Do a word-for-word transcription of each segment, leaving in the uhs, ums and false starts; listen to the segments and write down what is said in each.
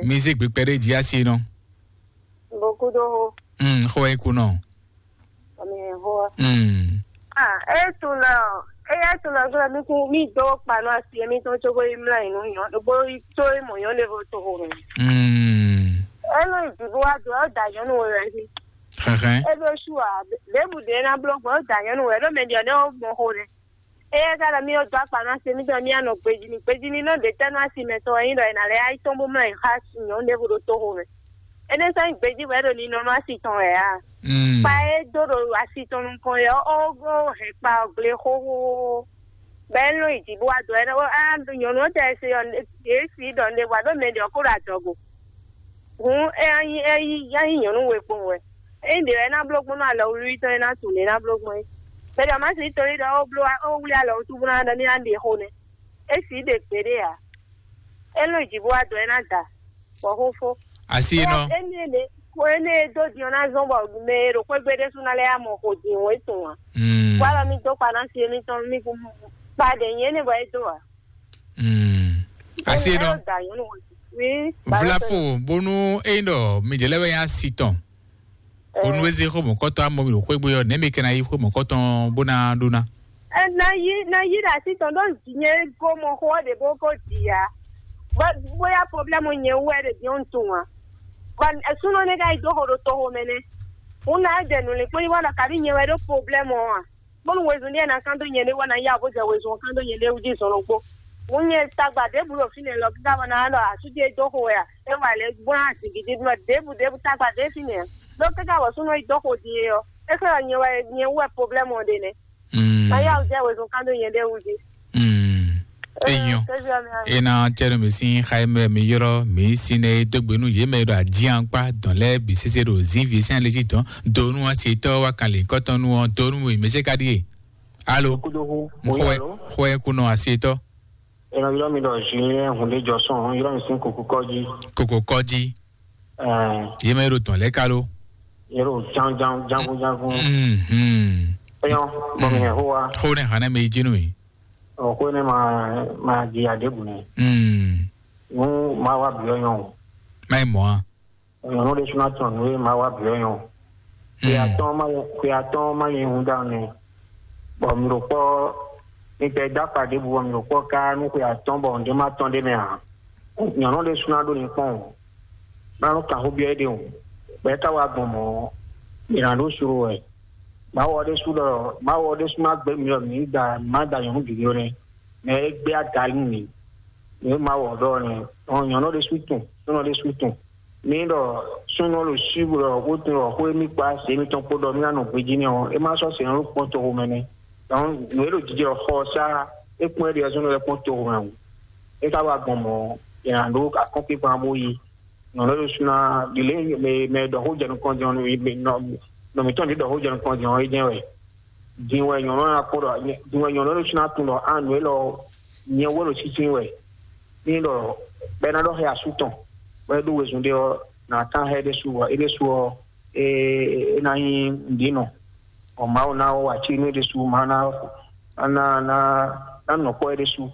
Mi zé gbe kpɛɖé jí asi nɔ. Bokudo ho. Mm, xo e kunɔ. Ami ho. Mm. Ah, e tun la. E ya tun la gla mi ku mi do kpa no asi mi ton chogo imla inu yon. Bo to e mo yon le vo to ho. Mm. E lo idibo wa do da yon wo re. Xɛxɛ. E lo shu a. Lebu de na blo gbɔ da yon wo re do me di ne o mo ho re. Eya ka ɖɔ mì ɖo dó akpa nú asi mitɔn mì anɔ gbejí ní gbejí ní nɔ ɖe tɛ́ nú asi mɛtɔn wɛ nyí ɖɔ è nǎ lɛ́ yá yi tɔ́n bó mlɔ́ yi xá nyɔ̌nu ɖěvo ɖo toxo mɛ. Énɛ́ sɔ́ nyí gbejí wɛ ɖo ninɔ nú asi tɔn wɛ ǎ. Kpa e dó ɖo asi tɔn nukɔn é ɔ́, ó hɛn kpa ɔ́ gblé xóxóxó. Bɔ é lɔn yi jǐ bó wá dó ɛnɛ ó á nyɔ̌nu ɔ́ tɛ se ɔ́, yě si ɖɔ un ɖe bɔ aɖó mɛ ɖě ɔ́ kó ɖo adɔgo. Hǔn é ná nyí é yí é ná nyí nyɔ̌nu we kpowun wɛ. Ényí ɖě wɛ é ná bló gbɔn nú alɔ wlíwlí tɔn é ná tunwun ɖě é ná bló gbɔn é. Mɛ ɖě ɔ́ má sixú tóli ɖɔ ó bló ó wlí alɔ wútu bó ná ɖɔ ní ná ɖe xo nɛ́. É sixú ɖe gbeɖé ǎ. É lɔn yi jǐ bó wá dɔn é ná da, bɔ xó fó. Asi e nɔ. Énɛ́ ɖě ko énɛ́ e dó din ɔ́ ná zɔ́n bɔ mɛ e ɖo xwé gbe ɖésú ná lɛ́ yá mɔ xo din wǒ e tun ǎ. Mm. Bó alɔ mì dó kpa ná si émítɔn mì kú kpa ɖě nyí énɛ́ bɔ é dó ǎ. Mm. Asi e nɔ. Wi. Vlafo bónú é nyí ɖɔ midě lɛ́ɛ wɛ nyí asi tɔn. Bónú é zé xó mɔ̌kɔtɔn amɔ mi ɖo xwé gbe ɔ́, nɛ̌ mi ka ná yí xwé mɔ̌kɔtɔn bó ná ɖó ná? Ɛ, na yí na yí ɖe asi tɔn ɖó nyɛ go mɔ xó ɔ́ ɖě bó ko ɖi ǎ. Bó bóyá problème nyɛ wú wɛ ɖe din ɔ́ un tunwun ǎ. Bɔ súnɔ nɛ́ ka yi dó xo ɖo toxo mɛ nɛ́. Hun ná jɛ nǔlinkpɔ́n yi wá ɖɔ kabi nyɛ wɛ ɖó problème ɔ́ ǎ. Bónú wezun ɖíe ná kán dó nyɛ ɖé wá ná yá bó jɛ wezun ɔ́ kán dó nyɛ ɖé wú jí zɔn ɖokpó. Hun nyɛ tagba ɖěbǔ ɖo fínɛ́ lɔ kíká bɔ ná ɖɔ asú ce dó xo wɛ a? É wà lɛ gbɔn azǐngídí ɖɔ ɖěbǔ ɖěbǔ tagba ɖé fínɛ́ ǎ. Ɖó káká bɔ súnɔ yi dó xo din é ɔ́, é xlɛ́ ɖɔ nyɛ wɛ nyɛ wú wɛ problème ɔ́ ɖe nɛ́. Mm. Ná yá wú jɛ wezun kán dó nyɛ ɖé wú jí. Mm. Enyɔ. Ena tɛnu mi sin xayi mɛ mi yɔrɔ mi sin ne dogbe nu ye mɛ ɖo adiankpa dɔn lɛ bi sese ɖo zinvi sin ale ji dɔn donu asi tɔ wa kan le kɔtɔnu ɔ donu mi mɛ se ka die. Alo. Kudohu. Xɔɛ xɔɛ kunɔ asi tɔ. Ena yɔrɔ mi ɖɔ Julien hunde jɔsɔn yɔrɔ mi sin koko kɔji. Koko kɔji. Ɛɛ. Ye mɛ ɖo dɔn lɛ kalo. Yɔrɔ jan jan jangun jangun. Mhm. Eyɔn bɔn mi hɛ ho wa. Xo ne hana mi jinu mi. Ɔ xo ne ma ma di adebu ne. Mm. Nu ma wa biɔ nyɔ. Ma yi mɔ a. Nyɔnu ɖe suna tɔn nu ye ma wa biɔ nyɔ. Xwe atɔn ma xwe atɔn ma yi hun da ne. Bɔ mi ɖo kpɔ mi tɛ da akpa ɖebu bɔ mi ɖo kpɔ ka nu xwe atɔn bɔ ŋdé ma tɔn ɖe mɛ a. Nyɔnu ɖe suna ɖo ni kpɔn o. Manu kan xó biɔ é ɖe o. Bɔ é ka wá gbɔn mɔ̌, è nǎ ɖó suro wɛ. Mawu ɔ́ ɖésú ɖɔ Mawu ɔ́ ɖésú má gbé mi ɖɔ mǐ da má da nyɔ̌nu gěgé ó nɛ́. Mɛ e gbé aga nú mǐ. Nǔ e Mawu ɔ́ ɖɔ ɔ́ nɛ́. Ɔn nyɔ̌nu ɖésú tunwun, súnɔ ɖésú tunwun. Mǐ ɖɔ súnɔ ɖo sí ɖɔ bó tunwun ɖɔ xó émí kpó azě mitɔn kpó ɖɔ mí ná nɔ gbejí nɛ́ ɔ́, é má sɔ́ sɛ̌n ɖó kpɔ́n toxo mɛ nɛ́. Dɔn nǔ e ɖo jijɛ ɖɔ xɔ ɔ́ sá é kpɔ́n é ɖe ɔ́ súnɔ lɛ́ kpɔ́n toxo mɛ ǎ. É ka wá gbɔn mɔ̌, è nǎ ɖó akɔ́nkpinkpan bó yí. Nɔ ɖɔ ɖo suna ɖile mɛ mɛ ɖɔ xó jɛ nukɔn jɛ nɔ nɔ mitɔn ɖi ɖɔ xó jɛ nukɔn jɛ ɔ é jɛ wɛ. Din wɛ nyɔnu na kpɔ ɖɔ din wɛ nyɔnu ɖo suna tun ɖɔ an nǔ élɔ nyɛ wɛ ɖo sísí wɛ. Ní ɖɔ bɛ na ɖɔ xɛ asu tɔn bɛ ɖo wezun ɖe ɔ na kan xɛ ɖe su ɔ é ɖe su ɔ é é na nyí ɖi nɔ. Ɔ Mawu na wɔ aci nú é ɖe su ma na na na na nɔ kpɔ é ɖe su.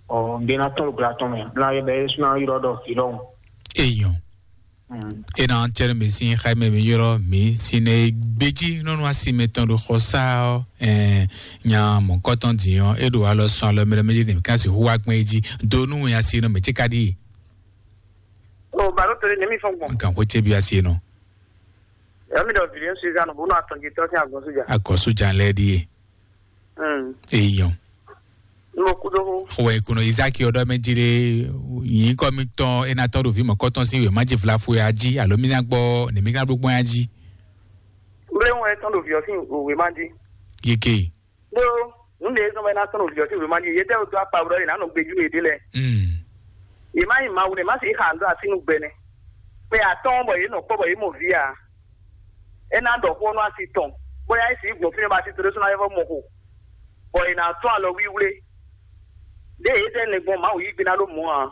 Ɔ ŋɖe na tɔn ɖo gbla tɔn mɛ bla yɛ bɛ é su na yrɔ ɖɔ vǐ ɖɔhun. Eyɔn. Ena tɛnɛ mi sin xayi mɛ mi yɔrɔ mi sin ne gbeji nɔnɔ asi mɛ tɔn ɖo xɔ sa ɔ ɛ nya mɔkɔtɔn din ɔ e ɖo alɔ sɔn alɔ mɛlɛ mɛlɛ ne mi kan si hu wa gbɛn ji do nu ya si nɔ mɛ tse ka di. O balo tere ne mi fɔn gbɔn. Kan ko tse bi asi nɔ. Yɔ mi dɔ viliɛ suza nɔ bo nɔ atɔn ji tɔ sin agɔn suja. Agɔn suja lɛ di ye. Eyɔn. Mo kú dó xó. Xɔ wɛ kunɔ Isaac ɔdɔ mɛ jire yin kɔ mi tɔn ena tɔn ɖo vi mɔ kɔtɔn si wɛ ma ji vla fo ya ji alo mi na gbɔ ne mi ka ɖo gbɔn ya ji. Mble ŋu etɔn ɖo viɔ sin òwe ma ji. Yeke. Ɖó nu ɖe zɔn bɛ na tɔn ɖo viɔ sin òwe ma ji ye tɛ do apa wlɔ ye na nɔ gbeju ye ɖe lɛ. Ye ma yi ma wu ne ma si xa ndo asi nu gbɛ nɛ. Kpɛ atɔn bɔ ye nɔ kpɔ bɔ ye mɔ vi a. É ná ɖɔ xó nú asi tɔn, bóyá é sixú gbɔn fínɛ́ bɔ asi tɔn ɖésú ná vɛ́ vɔ́ mɔ xo, bɔ è nǎ tɔ́n alɔ wíwlé. Ɖěe é zɛ nɛgbɔn Mawu yí gbe ná ɖó mɔ̌ ǎ.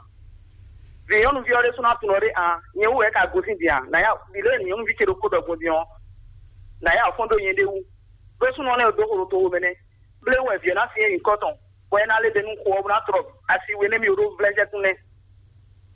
Vǐ nyɔ́nuví ɔ́ ɖésú ná tunɔ ɖé a, nyɛ wú wɛ é ka gosín din a? Nǎ yá ɖi lě e nyɔ̌nuví ce ɖokpó ɖɔ gbɔn din ɔ́, nǎ yá fɔ́n dó nyɛɖée wú. Ɖó súnnu ɔ́ nɛ́ ɖó xo ɖo toxo mɛ nɛ́. Bléwún wɛ vǐ ɔ́ ná syɛ́n nyǐkɔ tɔn, bɔ é ná lɛ́ ɖe nú xo ɔ́ bó ná tlɔ asi we nɛ́ mì ɖó vlɛ́ jɛ́kún nɛ́.